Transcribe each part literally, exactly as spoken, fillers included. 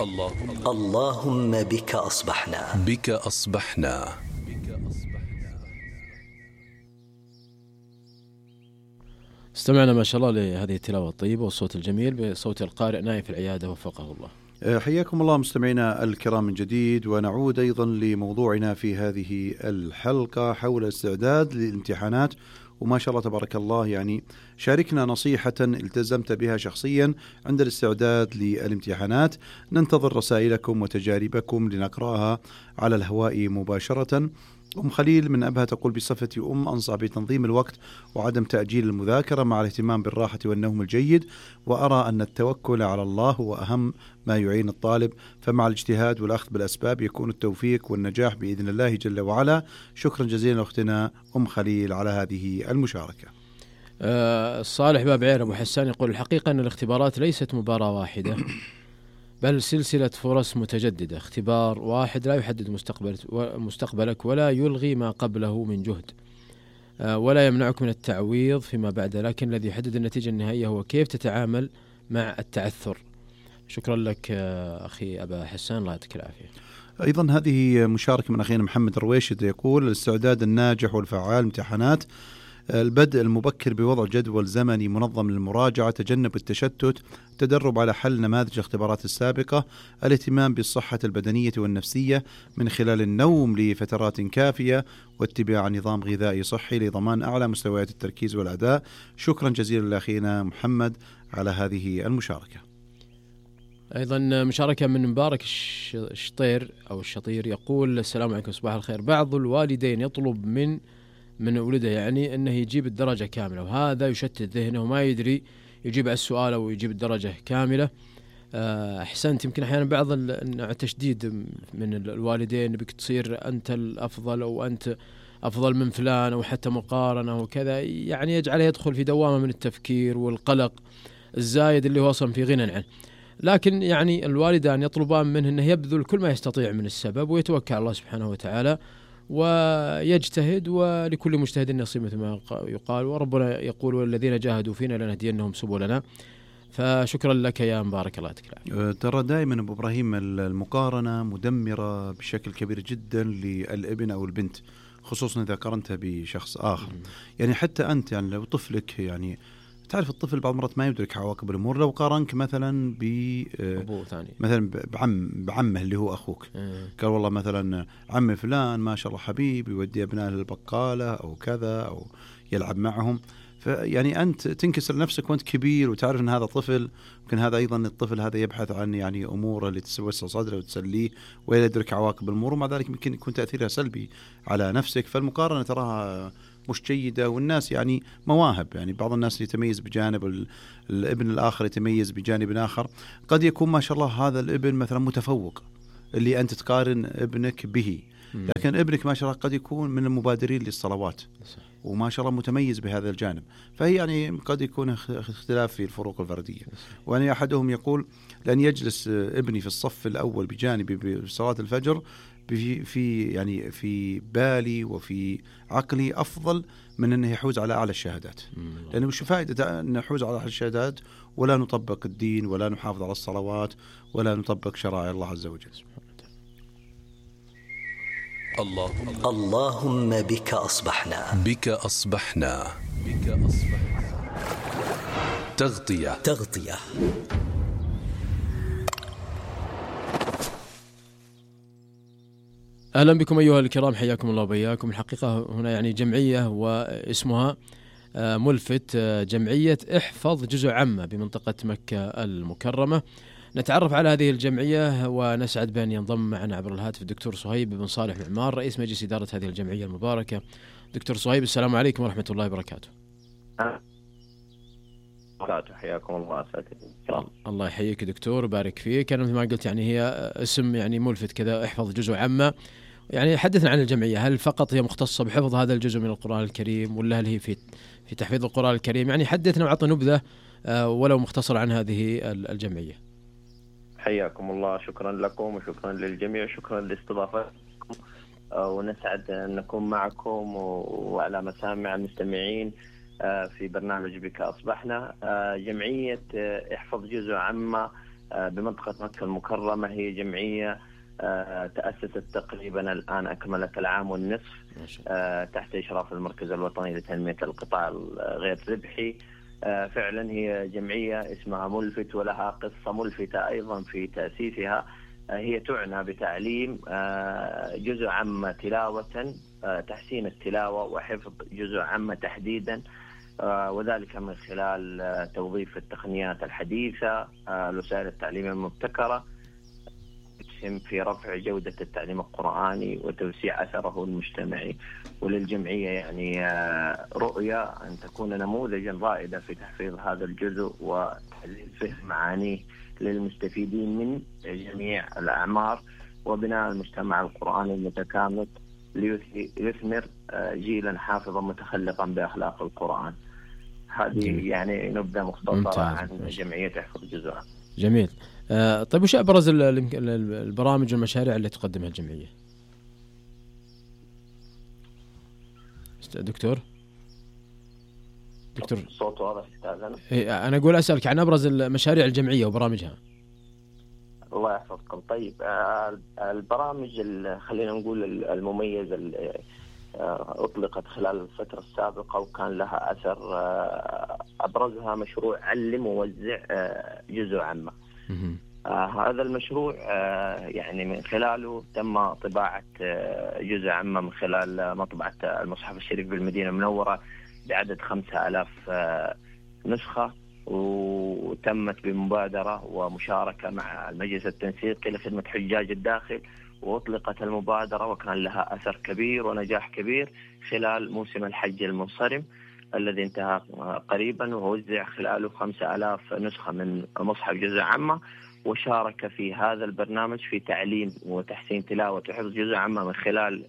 اللهم اللهم بك أصبحنا بك أصبحنا. استمعنا ما شاء الله لهذه التلاوة الطيبة والصوت الجميل بصوت القارئ نايف العيادة وفقه الله. حياكم الله مستمعينا الكرام من جديد، ونعود أيضا لموضوعنا في هذه الحلقة حول الاستعداد للامتحانات. وما شاء الله تبارك الله، يعني شاركنا نصيحة التزمت بها شخصيا عند الاستعداد للامتحانات. ننتظر رسائلكم وتجاربكم لنقرأها على الهواء مباشرة. أم خليل من أبها تقول: بصفتي أم أنصح بتنظيم الوقت وعدم تأجيل المذاكرة مع الاهتمام بالراحة والنوم الجيد، وأرى أن التوكل على الله هو أهم ما يعين الطالب، فمع الاجتهاد والأخذ بالأسباب يكون التوفيق والنجاح بإذن الله جل وعلا. شكرا جزيلا أختنا أم خليل على هذه المشاركة. أه صالح باب عير أبو حسان يقول: الحقيقة أن الاختبارات ليست مباراة واحدة بل سلسلة فرص متجددة. اختبار واحد لا يحدد مستقبلك ولا يلغي ما قبله من جهد ولا يمنعك من التعويض فيما بعد، لكن الذي يحدد النتيجة النهائية هو كيف تتعامل مع التعثر. شكرا لك أخي أبا حسان، الله يعطيك العافية. أيضا هذه مشاركة من أخينا محمد الرويشد يقول: الاستعداد الناجح والفعال امتحانات، البدء المبكر بوضع جدول زمني منظم للمراجعة، تجنب التشتت، تدرب على حل نماذج الاختبارات السابقة، الاهتمام بالصحة البدنية والنفسية من خلال النوم لفترات كافية، واتباع نظام غذائي صحي لضمان أعلى مستويات التركيز والأداء. شكرا جزيلا لأخينا محمد على هذه المشاركة. أيضا مشاركة من مبارك الشطير أو الشطير يقول: السلام عليكم، صباح الخير. بعض الوالدين يطلب من من ولده يعني أنه يجيب الدرجة كاملة، وهذا يشتت ذهنه وما يدري يجيب على السؤال أو يجيب الدرجة كاملة. أحسنت. يمكن أحيانا بعض التشديد من الوالدين بك تصير أنت الأفضل أو أنت أفضل من فلان أو حتى مقارنة وكذا، يعني يجعله يدخل في دوامة من التفكير والقلق الزايد اللي هو أصلا في غنى عنه. لكن يعني الوالدان يطلبان منه أنه يبذل كل ما يستطيع من السبب ويتوكل على الله سبحانه وتعالى ويجتهد، ولكل مجتهد نصيب مثل ما يقال، وربنا يقول: والذين جاهدوا فينا لنهدينهم سبلنا. فشكرا لك يا مبارك، الله يعطيك. ترى دائما أبو إبراهيم المقارنة مدمرة بشكل كبير جدا للابن أو البنت، خصوصا إذا قارنتها بشخص آخر. يعني حتى أنت يعني لو طفلك، يعني تعرف الطفل بعض مرات ما يدرك عواقب الأمور، لو قارنك مثلا ب مثلا بعم بعمه اللي هو أخوك، قال والله مثلا عم فلان ما شاء الله حبيب يودي أبنائه للبقالة أو كذا أو يلعب معهم، فيعني أنت تنكسر نفسك وأنت كبير وتعرف أن هذا طفل، ممكن هذا أيضا الطفل هذا يبحث عن يعني أمور اللي تسوس صدره وتسليه ولا يدرك عواقب الأمور، ومع ذلك ممكن يكون تأثيرها سلبي على نفسك. فالمقارنة تراها مش جيدة، والناس يعني مواهب، يعني بعض الناس يتميز بجانب، الابن الآخر يتميز بجانب آخر. قد يكون ما شاء الله هذا الابن مثلا متفوق اللي أنت تقارن ابنك به، لكن ابنك ما شاء الله قد يكون من المبادرين للصلوات وما شاء الله متميز بهذا الجانب. فهي يعني قد يكون اختلاف في الفروق الفردية. وأن أحدهم يقول: لأن يجلس ابني في الصف الأول بجانبي بصلاة الفجر في في يعني في بالي وفي عقلي أفضل من أنه يحوز على أعلى الشهادات. لأنه مش فائدة أن نحوز على أعلى الشهادات ولا نطبق الدين ولا نحافظ على الصلوات ولا نطبق شرائع الله عز وجل. اللهم اللهم بك أصبحنا بك أصبحنا بك أصبحنا. تغطية تغطية أهلا بكم أيها الكرام، حياكم الله وبياكم. الحقيقة هنا يعني جمعية واسمها ملفت، جمعية احفظ جزء عامة بمنطقة مكة المكرمة. نتعرف على هذه الجمعية ونسعد بأن ينضم معنا عبر الهاتف الدكتور صهيب بن صالح معمار، رئيس مجلس إدارة هذه الجمعية المباركة. دكتور صهيب، السلام عليكم ورحمة الله وبركاته. حياكم الله. الله يحييك دكتور وبارك فيك. أنا مثل ما قلت يعني هي اسم يعني ملفت كذا، احفظ جزء عامة. يعني حدثنا عن الجمعية، هل فقط هي مختصة بحفظ هذا الجزء من القرآن الكريم ولا هل هي في في تحفيظ القرآن الكريم؟ يعني حدثنا وعطنا نبذة ولو مختصر عن هذه الجمعية. حياكم الله، شكرا لكم وشكرا للجميع، شكرا لاستضافتكم، ونسعد أن نكون معكم وعلى مسامع المستمعين في برنامج بك أصبحنا. جمعية احفظ جزء عامة بمنطقة مكة المكرمة. هي جمعية تأسست تقريبا الآن أكملت العام والنصف تحت إشراف المركز الوطني لتنمية القطاع غير ربحي. فعلا هي جمعية اسمها ملفت ولها قصة ملفتة أيضا في تأسيسها. هي تعنى بتعليم جزء عامة تلاوة، تحسين التلاوة وحفظ جزء عامة تحديدا، وذلك من خلال توظيف التقنيات الحديثة، الوسائل التعليمية المبتكرة، تسهم في رفع جودة التعليم القرآني وتوسيع أثره المجتمعي. وللجمعية يعني رؤية أن تكون نموذجا رائدا في تحفيظ هذا الجزء وتحليل فهم معانيه للمستفيدين من جميع الأعمار، وبناء المجتمع القرآني المتكامل ليثمر جيلا حافظا متخلقا بأخلاق القرآن. هذه يعني نبذة مختصرة عن جمعية احفظ جزء. جميل. آه طيب وش أبرز البرامج والمشاريع اللي تقدمها الجمعية دكتور؟ دكتور صوت واضح استاذنا. إيه أنا أقول أسألك عن أبرز المشاريع الجمعية وبرامجها. الله يحفظكم. طيب البرامج خلينا نقول المميزة اللي أطلقت خلال الفترة السابقة وكان لها أثر، أبرزها مشروع علم ووزع جزء عامة. آه هذا المشروع آه يعني من خلاله تم طباعة آه جزء عامة من خلال مطبعة المصحف الشريف بالمدينة المنورة بعدد خمسة آلاف آه نسخة، وتمت بمبادرة ومشاركة مع المجلس التنسيقي لخدمة حجاج الداخل، وأطلقت المبادرة وكان لها أثر كبير ونجاح كبير خلال موسم الحج المنصرم الذي انتهى قريبا، ووزع خلاله خمسة آلاف نسخة من مصحف جزء عامة. وشارك في هذا البرنامج في تعليم وتحسين تلاوة وحفظ جزء عامة من خلال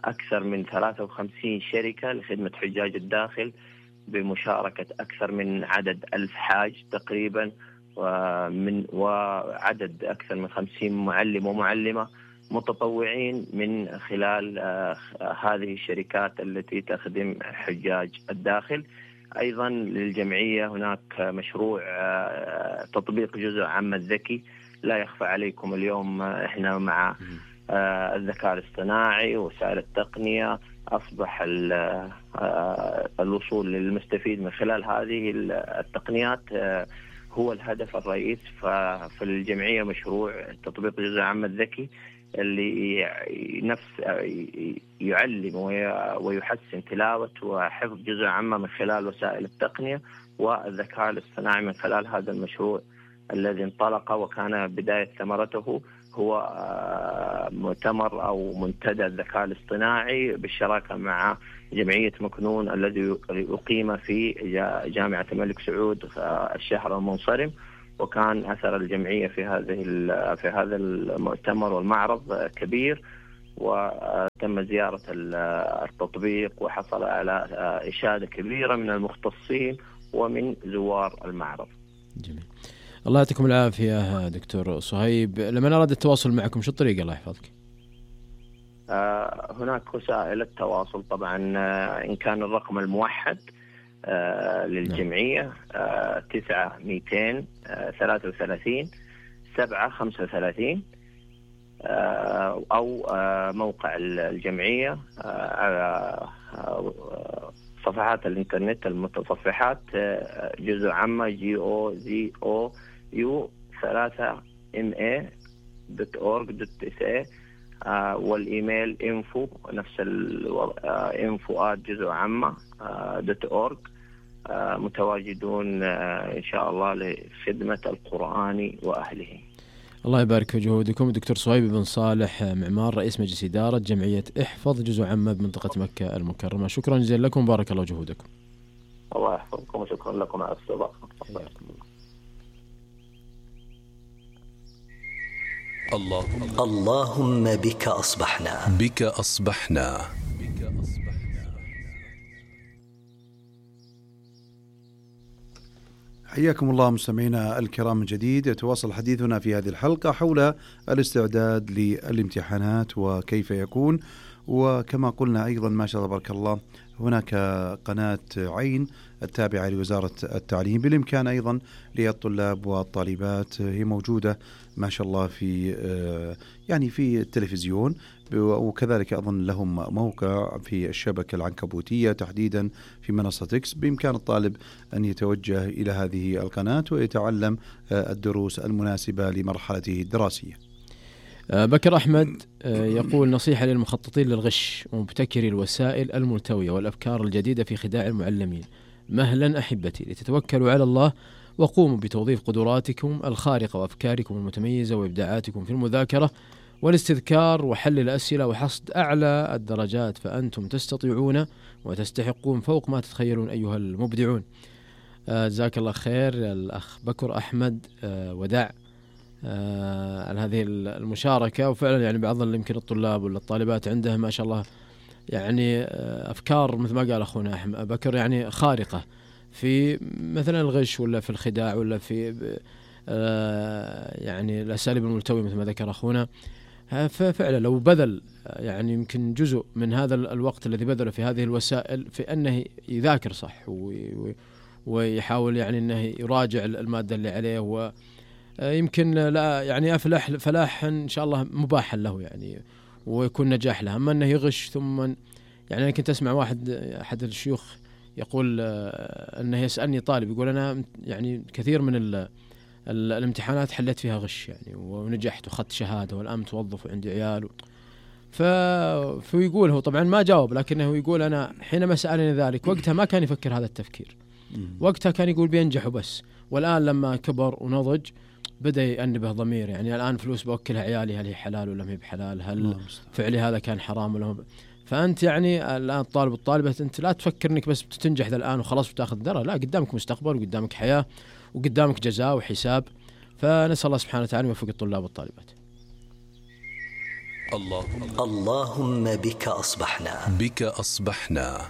أكثر من ثلاثة وخمسين شركة لخدمة حجاج الداخل بمشاركة أكثر من عدد ألف حاج تقريبا، ومن وعدد أكثر من خمسين معلم ومعلمة متطوعين من خلال هذه الشركات التي تخدم حجاج الداخل. أيضا للجمعية هناك مشروع تطبيق جزء عامة الذكي. لا يخفى عليكم اليوم إحنا مع الذكاء الاصطناعي ووسائل التقنية أصبح الوصول للمستفيد من خلال هذه التقنيات هو الهدف الرئيس. ففي الجمعية مشروع تطبيق جزء عامة الذكي اللي نفس يعلم ويحسن تلاوة وحفظ جزء عامة من خلال وسائل التقنية والذكاء الاصطناعي من خلال هذا المشروع الذي انطلق، وكان بداية ثمرته هو مؤتمر أو منتدى الذكاء الاصطناعي بالشراكة مع جمعية مكنون الذي أقيم في جامعة الملك سعود الشهر المنصرم. وكان أثر الجمعية في هذه في هذا المؤتمر والمعرض كبير، وتم زيارة التطبيق وحصل على إشادة كبيرة من المختصين ومن زوار المعرض. جميل. الله يعطيكم العافية دكتور صهيب. لما أراد التواصل معكم شو الطريقة الله يحفظك؟ آه هناك وسائل التواصل طبعا، آه إن كان الرقم الموحد آه للجمعية آه تسعة مئتين آه ثلاثة وثلاثين سبعة خمسة وثلاثين، آه أو آه موقع الجمعية آه على آه صفحات الإنترنت المتصفحات آه جزء عامة جي أو زي أو يو ثلاثة ام اي دوت اورج دوت اس اي، والإيميل info نفس الانفو آت جزء عامة دوت اورج. متواجدون إن شاء الله لخدمة القرآن وأهله. الله يبارك في جهودكم. دكتور صهيب بن صالح معمار رئيس مجلس إدارة جمعية احفظ جزء عامة بمنطقة مكة المكرمة، شكرا جزيلا لكم، بارك الله جهودكم. الله يحفظكم وشكرا لكم على الاستضافة. اللهم اللهم بك أصبحنا بك أصبحنا حياكم الله مستمعينا الكرام من جديد. يتواصل حديثنا في هذه الحلقة حول الاستعداد للامتحانات وكيف يكون، وكما قلنا أيضا ما شاء الله تبارك الله هناك قناة عين التابعة لوزارة التعليم، بالإمكان أيضا للطلاب والطالبات، هي موجودة ما شاء الله في يعني في التلفزيون، وكذلك أظن لهم موقع في الشبكة العنكبوتية تحديدا في منصة إكس، بإمكان الطالب أن يتوجه إلى هذه القناة ويتعلم الدروس المناسبة لمرحلته الدراسية. بكر أحمد يقول: نصيحة للمخططين للغش ومبتكري الوسائل الملتوية والأفكار الجديدة في خداع المعلمين، مهلا أحبتي لتتوكلوا على الله وقوموا بتوظيف قدراتكم الخارقة وأفكاركم المتميزة وإبداعاتكم في المذاكرة والاستذكار وحل الأسئلة وحصد أعلى الدرجات، فأنتم تستطيعون وتستحقون فوق ما تتخيلون أيها المبدعون. جزاك الله خير الأخ بكر أحمد ودع على هذه المشاركة. وفعلا يعني بعض يمكن الطلاب ولا الطالبات عندهم ما شاء الله يعني أفكار مثل ما قال أخونا أحمد بكر يعني خارقة في مثلا الغش ولا في الخداع ولا في يعني الأساليب الملتوية مثل ما ذكر أخونا. ففعلا لو بذل يعني يمكن جزء من هذا الوقت الذي بذله في هذه الوسائل في أنه يذاكر صح ويحاول يعني أنه يراجع المادة اللي عليه، ويمكن لا يعني أفلح فلاحا إن شاء الله مباحا له يعني ويكون نجاح له. أما أنه يغش ثم يعني أنا كنت أسمع واحد أحد الشيوخ يقول أنه يسألني طالب يقول أنا يعني كثير من ال الامتحانات حليت فيها غش يعني ونجحت وخدت شهادة والآن متوظف وعندي عيال. ف... فيقول هو طبعا ما جاوب، لكنه يقول أنا حينما سألني ذلك وقتها ما كان يفكر هذا التفكير، وقتها كان يقول بينجحوا بس، والآن لما كبر ونضج بدأ يأنبه ضمير يعني الآن فلوس بوكلها عيالي هل هي حلال ولا ما هي بحلال، هل فعلي هذا كان حرام ولا هو. فأنت يعني الآن الطالب والطالبة أنت لا تفكر أنك بس بتنجح ذا الآن وخلاص بتاخذ درجة، لا قدامك مستقبل وقدامك حياة وقدامك جزاء وحساب. فنسأل الله سبحانه وتعالى يوفق الطلاب والطالبات. اللهم اللهم بك أصبحنا بك أصبحنا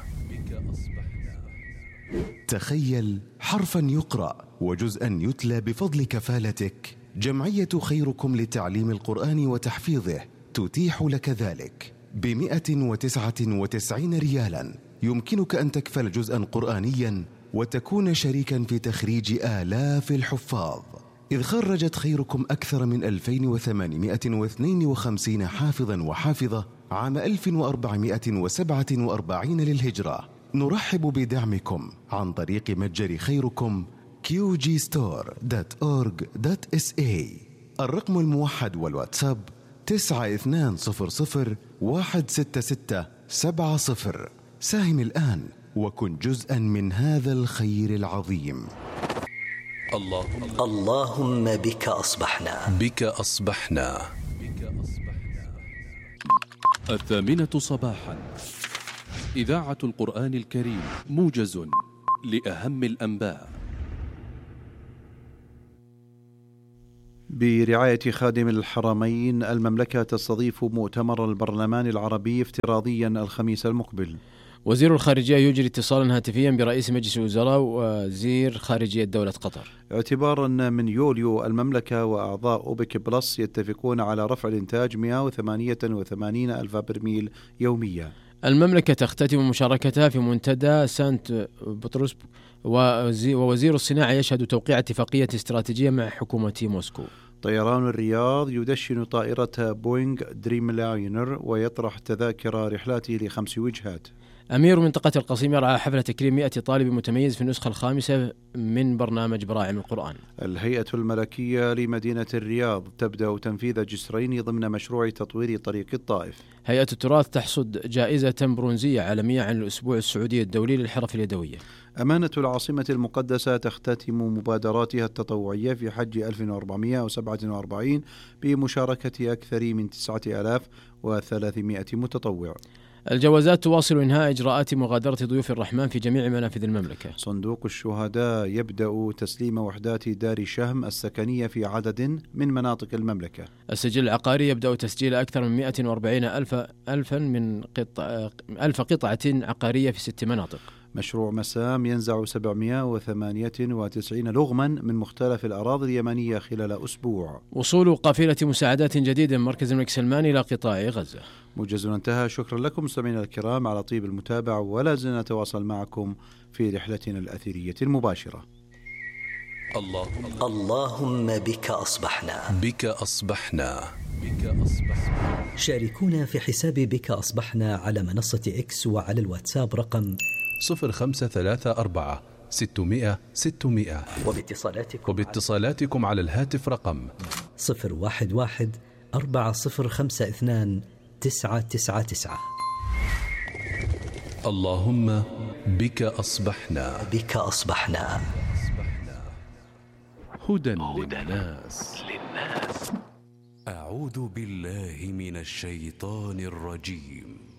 تخيل حرفا يقرأ وجزءا يتلى بفضل كفالتك. جمعية خيركم لتعليم القرآن وتحفيظه تتيح لك ذلك بمئة وتسعة وتسعين ريالا. يمكنك أن تكفل جزءا قرآنيا وتكون شريكا في تخريج آلاف الحفاظ، إذ خرجت خيركم أكثر من ألفين وثمانمئة واثنين وخمسين حافظا وحافظة عام ألف وأربعمئة وسبعة وأربعين للهجرة. نرحب بدعمكم عن طريق متجر خيركم كيو جي ستور دوت أورج دوت إس إيه. الرقم الموحد والواتساب تسعة اثنان صفر صفر واحد ستة ستة سبعة صفر. ساهم الآن وكن جزءا من هذا الخير العظيم. اللهم اللهم بك أصبحنا بك أصبحنا الثامنة صباحا إذاعة القرآن الكريم موجز لأهم الأنباء برعاية خادم الحرمين. المملكة تستضيف مؤتمر البرلمان العربي افتراضيا الخميس المقبل. وزير الخارجية يجري اتصالا هاتفيا برئيس مجلس الوزراء ووزير خارجية دولة قطر. اعتبارا من يوليو المملكة وأعضاء أوبك بلس يتفقون على رفع الإنتاج مئة وثمانية وثمانين ألف برميل يوميا. المملكة تختتم مشاركتها في منتدى سانت بطرس، ووزير الصناعة يشهد توقيع اتفاقية استراتيجية مع حكومة موسكو. طيران الرياض يدشن طائرة بوينغ دريم لاينر ويطرح تذاكر رحلاته لخمس وجهات. أمير منطقة القصيم يرعى حفلة تكريم مئة طالب متميز في النسخة الخامسة من برنامج براعم القرآن. الهيئة الملكية لمدينة الرياض تبدأ تنفيذ جسرين ضمن مشروع تطوير طريق الطائف. هيئة التراث تحصد جائزة برونزية عالمية عن الأسبوع السعودي الدولي للحرف اليدوية. أمانة العاصمة المقدسة تختتم مبادراتها التطوعية في حج ألف وأربعمئة وسبعة وأربعين بمشاركة أكثر من تسعة آلاف وثلاثمئة متطوع. الجوازات تواصل إنهاء إجراءات مغادرة ضيوف الرحمن في جميع منافذ المملكة. صندوق الشهداء يبدأ تسليم وحدات دار شهم السكنية في عدد من مناطق المملكة. السجل العقاري يبدأ تسجيل أكثر من مئة وأربعين ألف ألفا من قطع ألف قطعة عقارية في ست مناطق. مشروع مسام ينزع سبعمائة وثمانية وتسعين لغما من مختلف الأراضي اليمنية خلال أسبوع. وصول قافلة مساعدات جديدة من مركز الملك سلمان إلى قطاع غزة. موجز انتهى. شكرا لكم مستمعينا الكرام على طيب المتابعة، ولا زلنا نتواصل معكم في رحلتنا الأثيرية المباشرة. اللهم اللهم بك أصبحنا. بك أصبحنا. بك أصبحنا. شاركونا في حساب بك أصبحنا على منصة إكس وعلى الواتساب رقم صفر خمسة ثلاثة أربعة ستمائة ستمائة، وباتصالاتكم وباتصالاتكم على الهاتف رقم صفر واحد واحد أربعة صفر خمسة اثنان تسعة تسعة تسعة. اللهم بك أصبحنا. بك أصبحنا. هدى للناس. أعوذ بالله من الشيطان الرجيم.